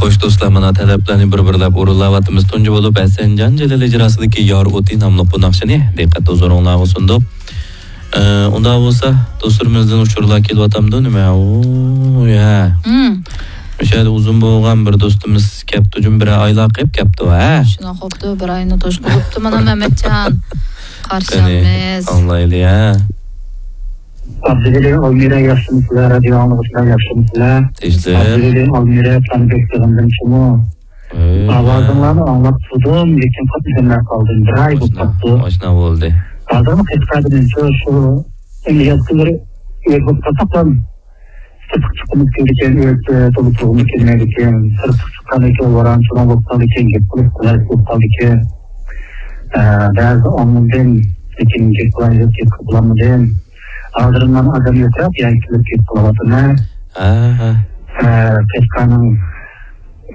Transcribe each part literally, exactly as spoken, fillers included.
خوش دوستلار، مانا تەلەپلەرنى بىر-بىرلەپ ئورۇنلاۋاتىمىز. تۇنجى بولۇپ ھەسەنجان جېلىل ئىجراسىدىكى يار ئوتى ناملىق بۇ ناخشىنى دىققەت ھۇزۇرۇڭلارغا سۇندۇق. ئە، ئۇنداق بولسا دوستلىرىمىزدىن ئۇچۇرلار كېلىۋاتامدۇ نېمە؟ ئۇ، يا. مم. مۇشۇ يەردە ئۇزۇن بولغان بىر دوستىمىز كەپتۇ، جۇم بىر ئايلار قېلىپ كەپتۇ، ھە؟ شۇنداق بوپتۇ، بىر ئاينى توشقۇزۇپتۇ مانا مەمەتجان. قېنى، قارشىمىز. ئاڭلايلى، ھە؟ ئابدۇۋەلى، ئالمىرا ياخشىمۇسىلەر؟ رادىيو ئاڭلىغۇچىلار ياخشىمۇسىلەر؟ تىنچلىق. ئابدۇۋەلى، ئالمىرا، تانىبېك يىغىندىن چىمۇ؟ ئاۋازىڭلارنى ئاڭلاپ تۇردۇم، لېكىن قاتنىشالماي قالدىم. بىر ئاي بولۇپ قاپتۇ. ئاشۇنداق بولدى. ھازىرمۇ قەشقەردىن شۇ، شۇ ئەمدى ياز كۈنلىرى ئۆيدە بولۇپ قالساقلا، سىرتقا چىققۇمىز كېلىدىكەن، ئۆيدە تولا تۇرغۇمىز كەلمەيدىكەن. سىرتقا چىققاندىكىن ۋاران-چۇران بولۇپ قالىدىكەن، گەپ قىلىپ قالايلىق بولۇپ قالىدىكەن. ئە، بەزىدە ئاڭلىدىم، لېكىن گەپ قىلايلىق، گەپ قىلالمىدىم. ھازىر مانا ئادەم يوقراق، يەنە كېلىپ گەپ قىلىۋاتىمەن. ھە، ھە. ئە، قەشقەرنىڭ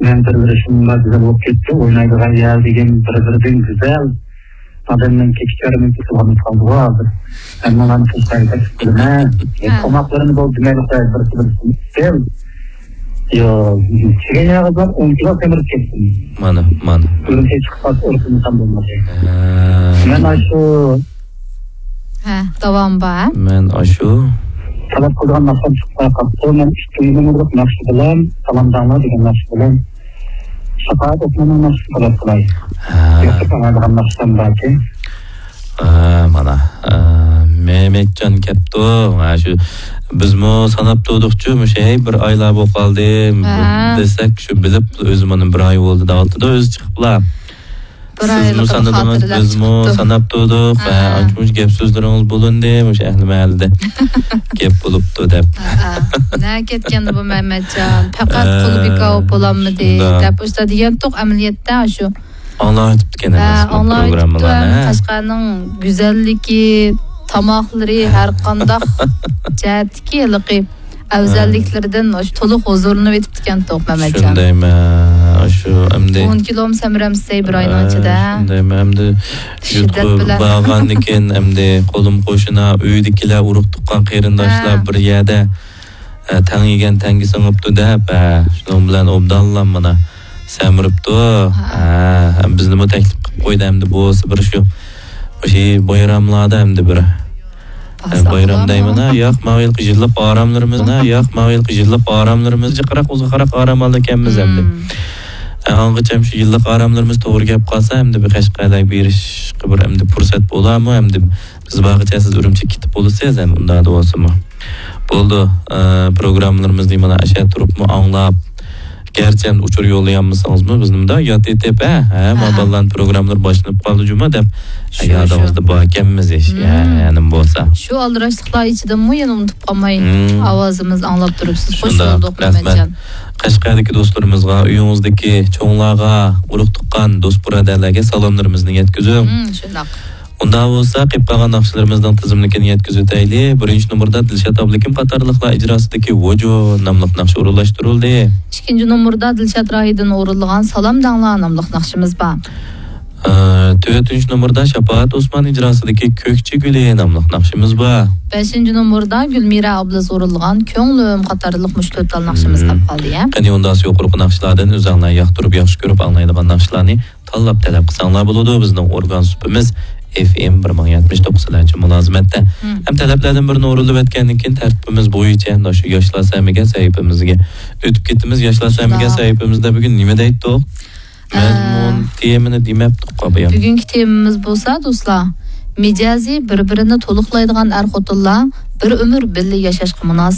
مەنزىرىلىرى شۇنداق گۈزەل بولۇپ كەتتى، ئوينايدىغان يەر دېگەن بىر-بىرىدىن گۈزەل. ئادەمنىڭ كېچىكەرمىكى قىلغان قالدىغۇ ھازىر. ھەممىڭلارنى تۇتقايلى دەپ كۈلىمەن. ھە. تاماقلىرىنى بولدى دېمەيلى قوياي، بىرسى بىرسىنى ئىستىل. يو، چىگەن ياغىزلار ئون كىلو سەمرىپ كەتتىم. مانا، مانا. ئۈرۈمچىگە چىقىپ قالسا ئۇرۇپ يېسام بولمايدۇ. ھە. مەن ئاشۇ. ھە، داۋامى بار، ھە؟ مەن ئاشۇ. تەلەپ قىلىدىغان ناخشام چىقىپ قاپتۇ. مەن ئىككىنچى نومۇرلۇق ناخشا بىلەن، سالام دەڭلار دېگەن ناخشا بىلەن شاپائەت ئوسماننىڭ ناخشىسىنى تەلەپ قىلاي. ھە. ياقتۇرۇپ ئاڭلايدىغان ناخشام باركى. ھە، مانا، ھە، مەمەتجان كەپتۇ. ھە، شۇ بىزمۇ ساناپ تۇردۇقچۇ، مۇشۇ، ھەي، بىر ئايلار بولۇپ قالدى، ھە، دېسەك، شۇ بىلىپ، ئۆزى مانا بىر ئاي بولدى دەۋاتىدۇ، ئۆزى چىقىپلا. بىر سىزمۇ ئايلىقىنى سانىدىڭىز، خاتىرىلەپ بىزمۇ چىقىپتۇ. ساناپ تۇردۇق. ھە. ھە، ئانچە-مۇنچە گەپ سۆزلىرىڭىز بولۇندى، مۇشۇ ئەھلى مەھەللىدە گەپ بولۇپتۇ دەپ. ھە، ھە. نەگە كەتكەندى بۇ مەمەتجان؟ پەقەت ھە، قۇلى بىكار بولۇپ بولالمىدى شۇنداق دەپ ئۇشتا دېگەنتۇق ئەمەلىيەتتە شۇ. ئاڭلاۋېتىپتىكەن ھە، ئەمەسمۇ ئاڭلاۋېتىپتۇ، پروگراممىلارنى، ھە، ھە؟ قەشقەرنىڭ گۈزەللىكى، تاماقلىرى، ھە، ھەر قانداق جەھەتتىكى ھېلىقى ئەۋزەللىكلىرىدىن ئاشۇ تولۇق ھۇزۇرلىنىۋېتىپتىكەنتۇق مەمەتجان. شۇندايمەن، ئاشۇ ئەمدى. ئون كىلومۇ سەمرەمسەي بىر ئاينىڭ ئىچىدە. شۇندايمەن، ئەمدى يۇرتقا بارغاندىكىن ئەمدى قولۇم قوشنا، ئۆيدىكىلەر، ئۇرۇق تۇغقان قېرىنداشلار بىر يەردە، ئە، تەڭ يېگەن تەڭگە سىڭىپتۇ دەپ، ئە، شۇنىڭ بىلەن ئوبدانلا مانا سەمرىپتۇ. ھە، بىزنىمۇ تەكلىپ قىلىپ قويدى ئەمدى بولسا بىر شۇ، شۇ بايراملاردا ئەمدى بىر. ئە، بايرام دەيمەن، ھە، ياق، ماۋۇ يىلقى يىللىق ئاراملىرىمىز، ھە، ياق، ماۋۇ يىلقى يىللىق ئاراملىرىمىز جىقراق ئۇزۇنراق ئارام ئالىدىكەنمىز ئەمدى. ئە، ئاڭغىچەم شۇ يىللىق ئاراملىرىمىز توغرا كەپ قالسا، ئەمدى بىر قەشقەرلەرگە بېرىشقا بىر ئەمدى پۇرسەت بولارمۇ؟ ئەمدى بىز بارغىچە سىز ئۈرۈمچىگە كېتىپ بولىسىز، ئەمدى ئۇنداقتا بولسىمۇ. بولىدۇ، ئە، پروگراممىلىرىمىزنى مانا ئاشۇ تۇرۇپمۇ ئاڭلاپ، گەرچە ئەمدى ئۇچۇر يوللىيالمىسىڭىزمۇ، بىزنى مۇنداق ياد ئېتىپ، ھە، ھە، ما بالىلارنىڭ پروگراممىلىرى باشلىنىپ قالدى جۇما دەپ، شۇ، يادىڭىزدا باركەنمىز، ھە، يەنىمۇ بولسا. شۇ ئالدىراشلىقلار ئىچىدىمۇ يەنە ئۇنتۇپ قالماي ئاۋازىمىز ئاڭلاپ تۇرۇپسىز. خوش بولدۇق، رەھمەت. قەشقەردىكى دوستلىرىمىزغا، ئۆيىڭىزدىكى چوڭلارغا، ئۇرۇق تۇغقان، دوست بۇرادەرلەرگە سالاملىرىمىزنى يەتكۈزۈڭ. شۇنداق. ئۇنداق بولسا، قېلىپ قالغان ناخشىلىرىمىزنىڭ تىزىملىكىنى يەتكۈزۈۋېتەيلى. بىرىنچى نومۇردا دىلشات ئابلىكىم قاتارلىقلار ئىجراسىدىكى ۋۇجۇ ناملىق ناخشا ئورۇنلاشتۇرۇلدى. ئىككىنچى نومۇردا دىلشات راھىدىن ئورۇنلىغان سالام دەڭلار ناملىق ناخشىمىز بار. ئە، تۆتىنچى نومۇردا شاپائەت ئوسمان ئىجراسىدىكى كۆكچە گۈلى ناملىق ناخشىمىز بار. بەشىنچى نومۇردا گۈلمىرە ئابلىز ئورۇنلىغان كۆڭلۈم قاتارلىق مۇشۇ تۆت تال ناخشىمىز قاپ قالدى، يا. قېنى ئۇنداقسا يۇقىرىقى ناخشىلاردىن ئۆزۈڭلار ياقتۇرۇپ، ياخشى كۆرۈپ ئاڭلايدىغان ناخشىلارنى تاللاپ تەلەپ قىلساڭلار بولىدۇ. بىزنىڭ ئورگان سۇپىمىز ئېف ئېم بىر مىڭ يەتمىش توققۇز سىلەرچە مۇلازىمەتتە. ھەم تەلەپلەردىن بىرىنى ئورۇنلىۋەتكەندىن كېيىن تەرتىپىمىز بويىچە مانا شۇ ياشلار سەمىگە سەھىپىمىزگە ئۆتۈپ كېتىمىز. ياشلار سەمىگە سەھىپىمىزدە بۈگۈن نېمە دەيتتۇق؟ مەزمۇن، تېمىنى دېمەپتۇق بۇيان. بۈگۈنكى تېمىمىز بولسا، دوستلار، مىجەزى بىر-بىرىنى تولۇقلايدىغان ئەر-خوتۇنلار بىر ئۆمۈر بىللە ياشاشقا مۇناسىپ.